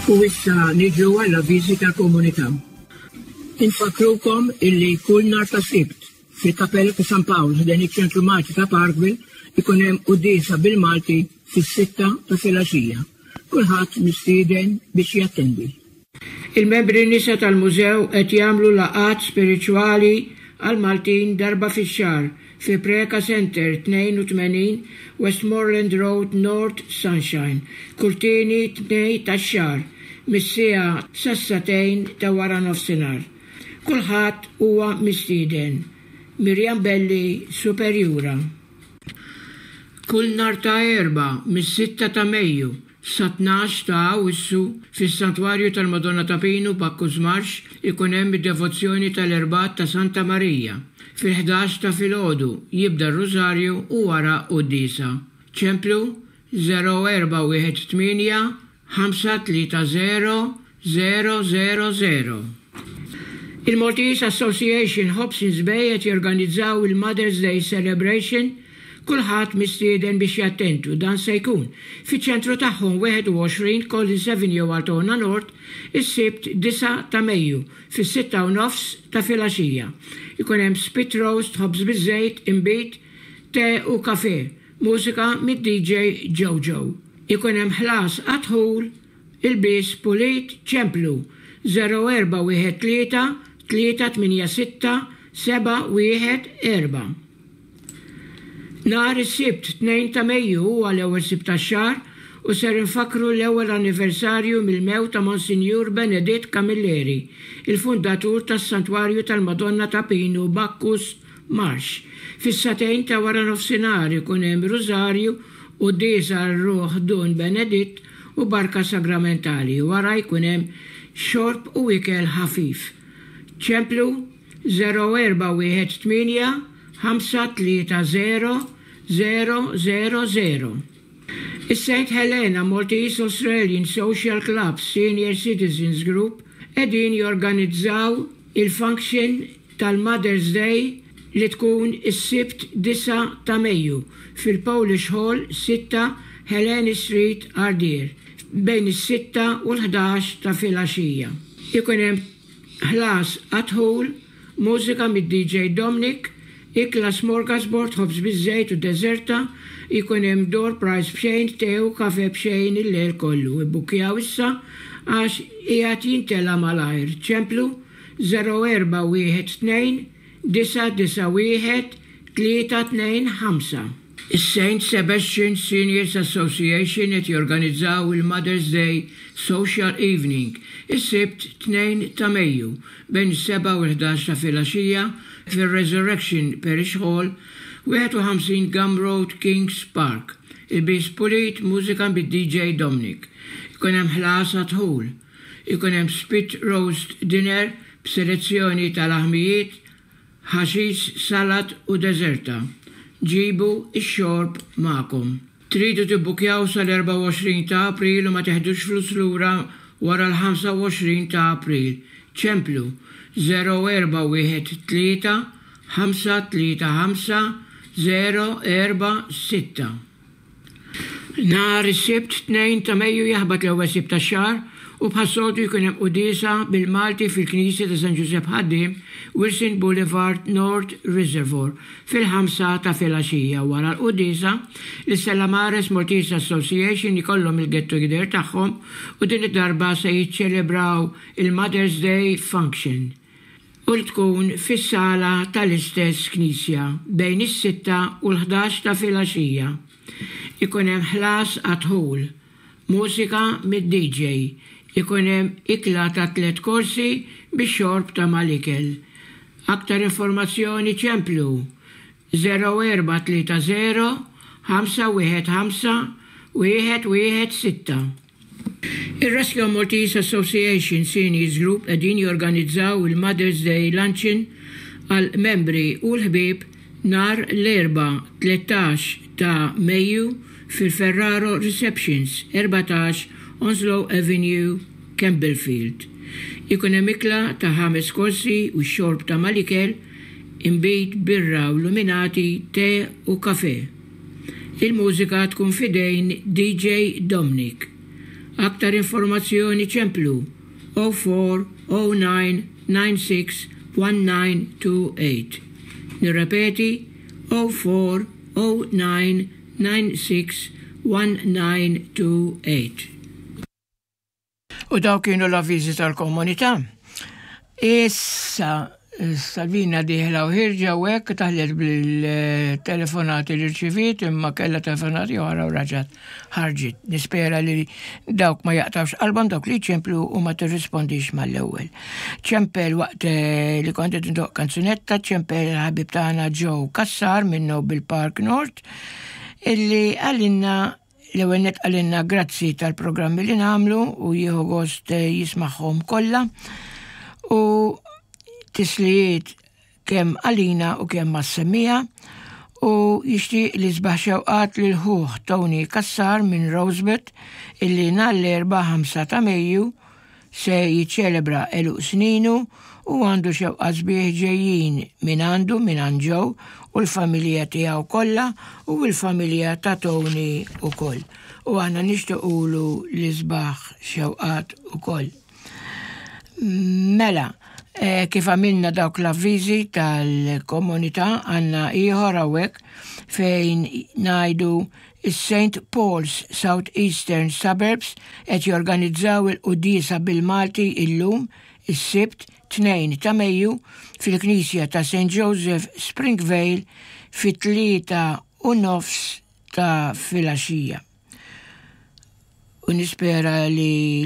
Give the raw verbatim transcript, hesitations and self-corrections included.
U issa niġu għall-avviżi tal-komunità. Infakkrukom illi kull nhar ta' Sibt fil-Kapella ta' San Pawl ħdejn iċ-Ċentru Malti ta' Parkville ikun hemm quddiesa bil-Malti fis-sitta ta' filgħaxija. Kulħadd mistieden biex jattendi. Il-membri nisa tal-mużew qed jagħmlu laqgħat spiritwali għal Maltin darba fix-xahar fi Preka Center tnejn u tmenin Westmoreland Road, North Sunshine, kull tieni Tnejn tax-xahar mis-siegħa sas-sagħtejn ta' wara nofsinhar. Kulħadd huwa mistieden. Mirjam Belli, Superjura. Kull nhar ta' Erbgħa mis-sitta ta' Mejju sa tnax ta' Awwissu fis-Santwarju tal-Madonna ta' Pinu, Bacchus Marsh, ikun hemm id-devozzjoni tal-Erbgħat ta' Santa Marija. Fil-ħdax ta' filgħodu jibda r-Rużarju u wara quddiesa. Ċemplu żero erba' wieħed tmienja ħamsa tlieta żero żero żero żero. Il-Maltese Association Hobsons Bay qed jorganizzaw il-Mother's Day Celebration. Kulħadd mistieden biex jattendu. Dan se jkun fiċ-ċentru tagħhom, wieħed u għoxrin Collins Avenue, Altona North, is-Sibt disgħa ta' Mejju fis-sitta u nofs ta' filgħaxija. Ikun hemm spit roast, ħobż biż-żejt, inbid, te u kafe, mużika mid-D J Jojo. Ikun hemm ħlas għad-dħul, ilbies pulit. Ċemplu żero erba' wieħed tlieta tlieta tmienja sitta seba' wieħed erba'. Nhar is-Sibt tnejn ta' Mejju huwa l-ewwel Sibt tax-xahar u ser infakru l-ewwel anniversarju mill-mewt ta' Monsinjur Beneditt Camilleri, il-fundatur tas-Santwarju tal-Madonna ta' Pinu, Bacchus Marsh. Fis-sagħtejn ta' wara nofsinhar ikun hemm Rużarju, quddiesa għal ruħ Dun Beneditt u barka sagramentali. Wara jkun hemm xorb u ikel ħafif. Ċemplu żero erba' wieħed tmienja ħamsa tlieta żero żero żero żero. Is-Saint Helena Maltese Australian Social Club Senior Citizens Group qegħdin jorganizzaw il-function tal-Mother's Day li tkun is-Sibt disgħa ta' Mejju fil-Polish Hall, sitta Helene Street, Ardeer, bejn is-sitta u l-ħdax ta' filgħaxija. Ikun hemm ħlas għad-dħul, mużika mid-D J Dominic, ikla smorgasbord, ħobż biż-żejt u deżerta, ikun hemm door prize b'xejn, te u kafe b'xejn il-lejl kollu. Ibbukjaw issa għax qiegħed jintela malajr. Ċemplu żero erba' wieħed tnejn disa' disa' wieħed tlieta tnejn ħamsa. Is-Saint Sebastian Seniors Association qed jorganizzaw il-Mother's Day Social Evening is-Sibt tnejn ta' Mejju bejn is-sebgħa u l-ħdax ta' filgħaxija fir-Resurrection Parish Hall, wieħed u ħamsin Gum Road, Kings Park. Ilbies pulit, mużika bid-D J Dominic. Ikun hemm ħlas għad-dħul. Ikun hemm spit roast dinner b'selezzjoni tal-aħmijiet, ħaxix, salat u deżerta. Ġibu ix-xorb magħkom. Tridu tibbukjaw sal-erbgħa u għoxrin ta' April u ma teħdux flus lura wara l-ħamsa u għoxrin ta' April. Ċemplu żero erba' wieħed tlieta ħamsa tlieta ħamsa żero erba' sitta. Nhar is-Sibt tnejn ta' Mejju jaħbat l-ewwel Sibt tax-xahar u bħas-soltu jkun hemm quddiesa bil-Malti fil-Knisja ta' San Giuseppe Ħaddiem, Wilson Boulevard, North Reservoir, fil-ħamsa ta' filgħaxija. Wara l-quddiesa, l-Stella Maris Maltese Association ikollhom il-get together tagħhom u din id-darba se jiċċelebraw il-Mother's Day Function u li tkun fis-sala tal-istess knisja bejn is-sitta u l-ħdax ta' filgħaxija. Ikun hemm ħlas għad-dħul, mużika mid-D J, ikun hemm ikla ta' tliet korsi bix xorb ta' mal-ikel. Aktar informazzjoni ċemplu żero erba' tlieta żero ħamsa wieħed ħamsa wieħed wieħed sitta. Il-Rescue Maltese Association Seniors Group qegħdin jorganizzaw il-Mother's Day Luncheon għal membri u l-ħbieb nhar l-Erbgħa tlettax ta' Mejju fil-Ferraro Receptions, erbatax Onslow Avenue, Campbellfield. Ikun hemm ikla ta' ħames korsi u xorb ta' mal-ikel, inbid, birra u luminati, te u kafe. Il-mużika tkun f'idejn D J Dominic. Aktar informazzjoni ċemplu zero four zero nine nine six one nine two eight. Nirrepeti, zero four zero nine nine six one nine two eight. U daw kienu l-avviżi tal-komunità. Issa, Salvina dieħla u ħierġa u hekk taħlet bil-telefonati li rċivit, imma kella telefonati oħra u reġgħet ħarġet. Nispera li dawk ma jaqtawx qalbhom, dawk li ċemplu u ma tirrispondix mal-ewwel. Ċempel waqt eh, li kont qed ndoqq kanzunetta, ċempel ħabib tagħna Joe Kassar minn Noble Park North, illi għalinna l-ewwel nett għalinna grazzi tal-programmi li nagħmlu u jieħu gost eh, jismagħhom kollha. U tislijiet kemm għalina u kemm mas-semmiegħa u jixtieq l-isbaħ xewqat lil ħuh Tony Kassar minn Rosebud, illi nhar l-Erbgħa ħamsa ta' Mejju se jiċċelebra għeluq sninu u għandu xewqat sbieħ ġejjin minn għandu, minn Joe u l-familja tiegħu kollha u l-familja ta' Tony ukoll. U aħna nixtiequlu l-isbaħ xewqat ukoll. Mela, eh, kif għamilna dawk l-avviżi tal-komunità, għandna ieħor hawnhekk fejn ngħidu is-Saint Paul's South Eastern Suburbs qed jorganizzaw il-quddiesa bil-Malti illum, is-Sibt tnejn ta' Mejju, fil-Knisja ta' Saint Joseph, Springvale, fit-tlieta u nofs ta' filgħaxija. U nispera li